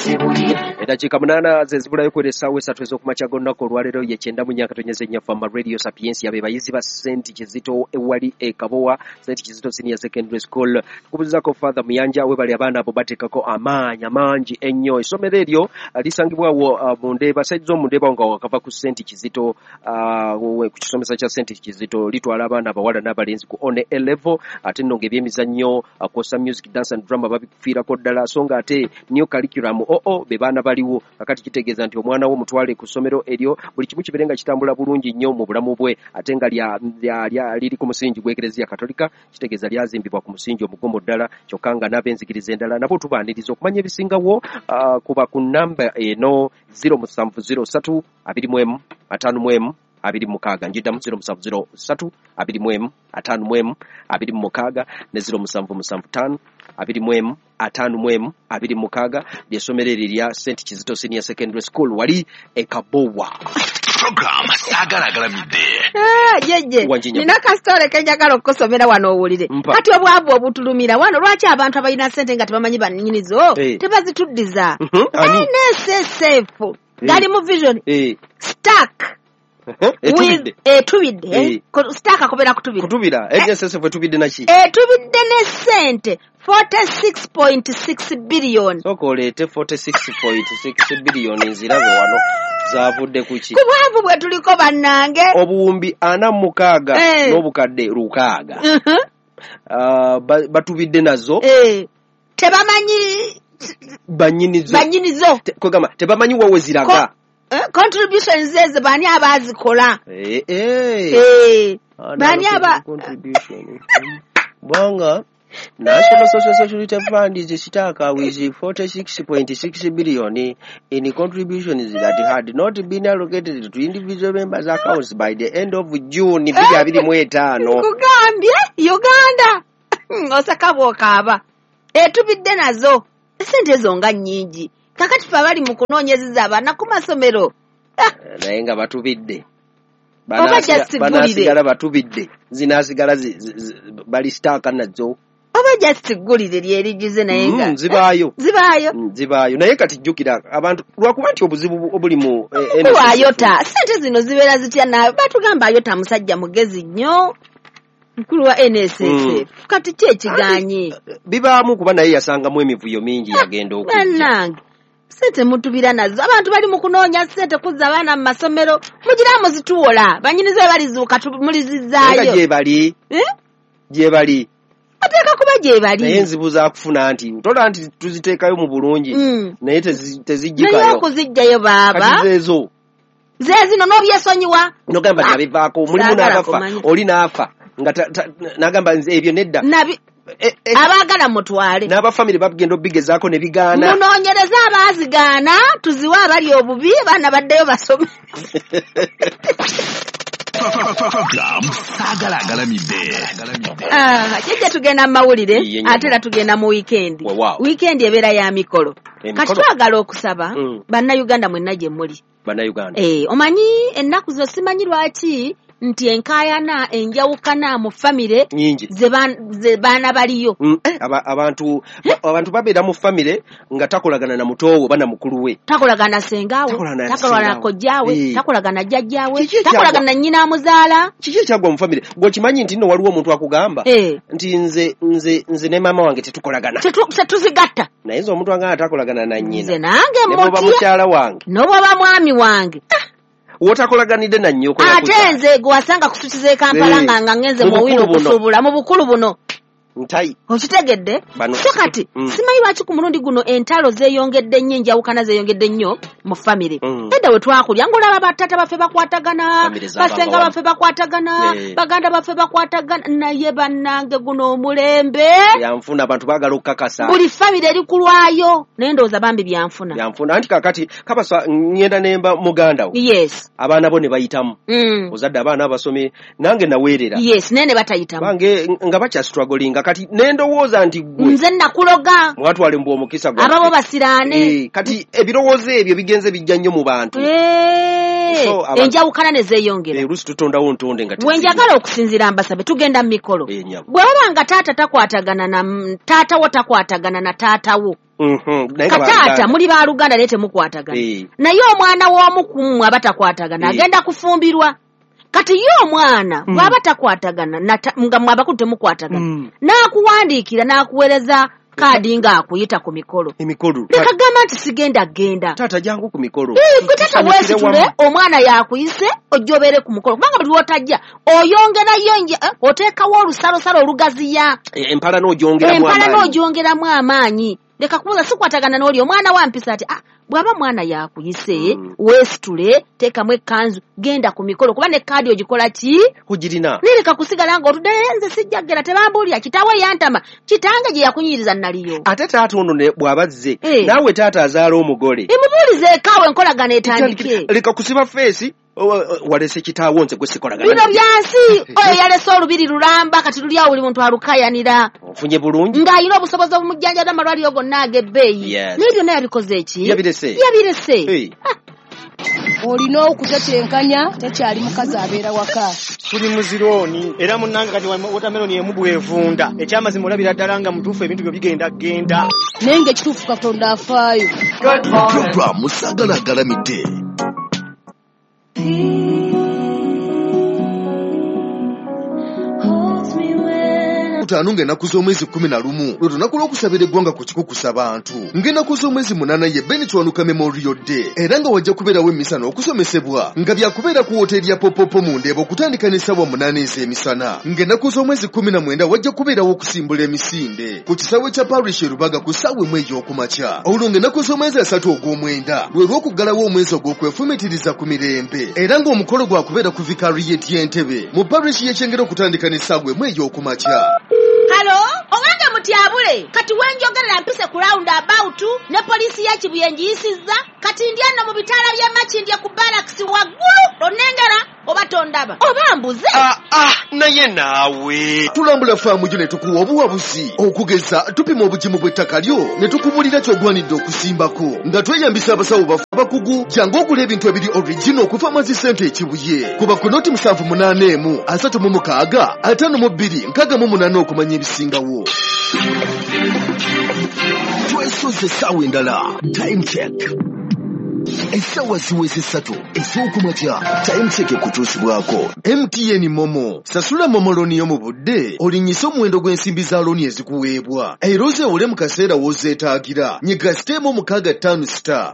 Eddakiika 8 ze zibulayo kwera essaawa 3 ez'okumakya g'olunaku olwaleero ye 94.4 Fama Radio Sapientia, be bayizi ba St Kizito ewali e Kabowa, St Kizito Senior Secondary School. Tukubuuzaako Father Muyanja, webali abaana abo bateekako amaanyi amangi ennyo. Essomero eryo lisangibwawo mu Ndeeba, side z'omu Ndeeba nga wakava ku St Kizito, ku kisomesa kya St Kizito. Litwala abaana abawala n'abalenzi ku one A level, ate nno ng'ebyemizannyo kwossa music, dance and drama babifiirako ddala, so nga ate new curriculum oo be baana baliwo. Kakati kitegeeza nti omwana wo mutwale ku ssomero eryo, buli kimu kibeere nga kitambula bulungi nnyo mu bulamu bwe, ate nga liri ku musingi gw'Ekereziya Katolika, kitegeeza lyazimbibwa ku musingi omugumu ddala, kyokka nga n'ab'enzikiriza endala nabo tubaaniriza okumanya ebisingawo. Kuba ku namba eno 0703 21 51 26. Njiddamu 0703 21 51 26 ne 0775 21 51 26, ly'essomero eryo erya St Kizito Senior Secondary School wali e Kabowa. Program Saagala Agalamidde. Jeje, Wanjinya. nina kasitole kenjagala okukusomera wano owulire. Mpa. Kati obwavu obutulumira wano, lwaki abantu abalina ssente nga tebamanyi bannyinizo tebazituddiza? Ani? NSSF gali mu vision stuck Etubidde. with etubidde. Stuck akobera kutubira. Kutubira. NSSF etubidde naki? Etubidde ne ssente 46.6 billion. Sooka oleete 46.6 billion nzirabe wano zaavudde ku ki? Ku bwavu bwe tuliko bannange. Obuwumbi 46 n'obukadde 6. Batubidde nazo. Tebamanyi bannyinizo. Bannyinizo. Kwegamba tebamanyi wa we ziraga. Contributions ezo bani abaazikola? Bani aba Contribution. Bwanga National Social Security Fund is stuck with 46.6 billion in contributions that had not been allocated to individual members' accounts by the end of June 2025. Nkugambye Uganda oseka bw'okaaba etubidde nazo essente ezo nga nnyingi. Kakati ffe abali mu kunoonyezeza abaana ku masomero. Naye nga batubidde. Oba just Banaasigala batubidde, zinaasigala bali stuck nazo. Oba just ggulire lyerigize naye nga Zibaayo. Zibaayo. Zibaayo. Naye kati jjukira abantu lwakuba nti obuzibu obuli mu Mukulu Ayota, ssente zino zibeera zitya naawe? Batugamba Ayota musajja mugezi nnyo. Mukulu wa NSSF. Kati ki ekigaanyi? Bibaamu kuba naye yasangamu emivuyo mingi yagenda okujja. Bannange, ssente mutubira nazo. Abantu bali mu kunoonya ssente kuzza abaana mu masomero. Mugira muzituwola. Bannyinizo balizuuka mulizizzaayo. Naye nga gyebali. Gyebali. Bateeka kuba gyebali. Naye enzibu za kufuna nti tola nti tuziteekayo mu bulungi. Naye tezijjikayo. Naye okuzijjayo baaba. Kati zeezo. Zeezino n'obyesonyiwa. N'ogamba nabivaako, mulimu Saagala n'abafa, kumanya. oli n'afa. Nga n'agamba nze ebyo nedda. Abaagala mutwale. N'abafamire bagenda obigezaako ne bigaana. Munoonyereze abaazigaana, tuziwe abali obubi, abaana baddeyo basome. Program Saagala Agalamidde. Jjajja tugenda mu mawulire, ate era tugenda mu weekend. Weekend ebeera ya mikolo. Kati twagala okusaba bannayuganda mwenna gye muli. Bannayuganda. Omanyi ennaku zo simanyi lwaki nti enkaayana enjawukana mu famire nyingi ze baana baliyo. Abantu babeera mu famire nga takolagana na mutoowo oba na mukulu we. Takolagana sengaawe, takolagana kojjaawe, takolagana jjajjaawe, takolagana na nnyina amuzaala. Kiki ekyagwa mu famire? Gwe okimanyi nti nno waliwo omuntu akugamba nti nze ne maama wange tetukolagana. Tetuzigatta. Naye nze omuntu angamba takolagana na nnyina. Nze nange Ne bw'oba mutya. mukyala wange. N'obw'oba mwami wange. Wotakolaganidde na nnyoko Ate yakuzaala. nze gwe wasanga ku street z'e Kampala nga ngenze Mu mu wino bukulu buno. okusuubula mu bukulu buno. Ntayi. Okitegedde? Bano. So kati simanyi lwaki ku mulundi guno entalo zeeyongedde nnyo, enjawukana zeeyongedde nnyo mu famire. Edda we twakulya ng'olaba bataata baffe bakwatagana, Famire z'abantu basenga awamu. baffe bakwatagana, baganda baffe bakwatagana, naye bannange guno omulembe. Byanfuna, abantu baagala okukakasa. Buli famire eri kulwayo, naye ndowooza bambi byanfuna. Byanfuna, anti kaakati kabasa ngenda nemba muganda wo. Yes. Abaana bo ne bayitamu. Ozadde abaana abasomye, nange naweerera. Yes, naye ne batayitamu. Bange nga bakyastrugglinga kati ne ndowooza nti ggwe. Nze nakuloga. Mwatwale mbu omukisa gwaffe. Ababo basiraane. Kati ebirowoozo ebyo bigenze bijja nnyo mu bantu. So, Enjawukana ne zeeyongera. Oluusi tutondawo ntonde nga Bwe njagala okusinziira mbasabe tugenda mu mikolo. Nyabo. Bwe baba nga taata takwatagana na taata wo takwatagana na taata wo. Kataata muli baluganda naye temukwatagana. Naye omwana w'omu ku mmwe abatakwatagana agenda kufumbirwa. Kati ye omwana bw'aba takwatagana nga mmwe abakulu temukwatagana, n'akuwandiikira n'akuweereza kaadi ng'akuyita ku mikolo. Leka gamba nti sigenda genda. Taata jangu ku mikolo. Gwe taata weesitule, omwana yakuyise ojja obeere ku mukolo, kubanga buli lw'otajja oyongerayo, oteekawo olusalosalo olugaziya. Empala n'ogyongeramu amaanyi. Leka kubuuza sikwatagana n'oli omwana wampisa ati bw'aba mwana yakuyise weesitule, teekamu ekkanzu, genda ku mikolo, kuba ne kaadi ogikola ki? Ogirina. Naye leka kusigala ng'otudde, nze sijja kugenda, tebambuulira, kitaawe yantama, kitange gye yakunyiriza naliyo. Ate taata ono bw'aba azze, naawe taata azaala omugole. Emubuulize ekaawe enkolagana etandike. Leka kusiba feesi, walese kitaawo nze gwe sikolagana. Bino byansi, oyo yalese olubiri lulamba, kati luli awo buli muntu alukayanira. Ofunye bulungi. Ng'alina obusobozi obumujjanjaba amalwaliro gonna ag'ebbeeyi. Naye byonna yabikoze eki? Yabirese. Olina okutetenkanya, tekyali mukazi abeera waka. Tuli muzirooni era munnange kati watermelon emu bw'evunda. Ekyamazima olabira ddala nga mutuufu ebintu byo bigenda genda. Naye ng'ekituufu Katonda afaayo. Program Saagala Agalamidde. Ttaano ng'ennaku z'omwezi 11 lwe lunaku lw'okusabira eggwanga ku kikukusa bantu. Ng'ennaku z'omwezi 8 ye Ben Kiwanuka Memorial Day, era nga wajja kubeerawo emmisa n'okusomesebwa nga byakubeera ku wooteeri ya Popopo mu Ndeeba okutandika n'essaawa 8 ez'emisana. Ng'ennaku z'omwezi 19 wajja kubeerawo okusimbula emisinde ku kisaawe kya Parish e Rubaga ku ssaawa 1 ey'okumakya. Olwo ng'ennaku z'omwezi 3 ogw'omwenda lwe lw'okuggalawo omwezi ogw'okwefumitiriza ku mirembe, era ng'omukolo gwakubeera ku Vicariate y'Entebe mu Parish y'e Kyengera okutandika n'essaawa 1 ey'okumakya. Halo, owange mutyabule, kati wenjogerera mpise ku round about ne poliisi ya Kibuye ngiyisizza, kati ndi ano mu bitaala by'e Makindye ku barracks waggulu, onnengera oba tondaba oba mbuze. Naye naawe tulambula faamu gyo ne tukuwa obuwabuzi. Okugeza tupima obugimu bw'ettaka lyo ne tukubulira ky'ogwanidde okusimbako nga tweyambisa abasawo baffe abakugu. Jangu ogula ebintu ebiri original okuva Mazi Sente e Kibuye. Kuba ku noti 781 36 52 68 okumanya ebisingawo. Twesoze essaawa endala. Time check. Essaawa ziweze 3 ez'okumakya. Time check ekutuusibwako MTN Momo. Sasula Momo looni yo mu budde, olinnyise omuwendo gw'ensimbi za looni ezikuweebwa, era ozeewole mu kaseera w'ozeetaagira. Nyiga siteemu 656*.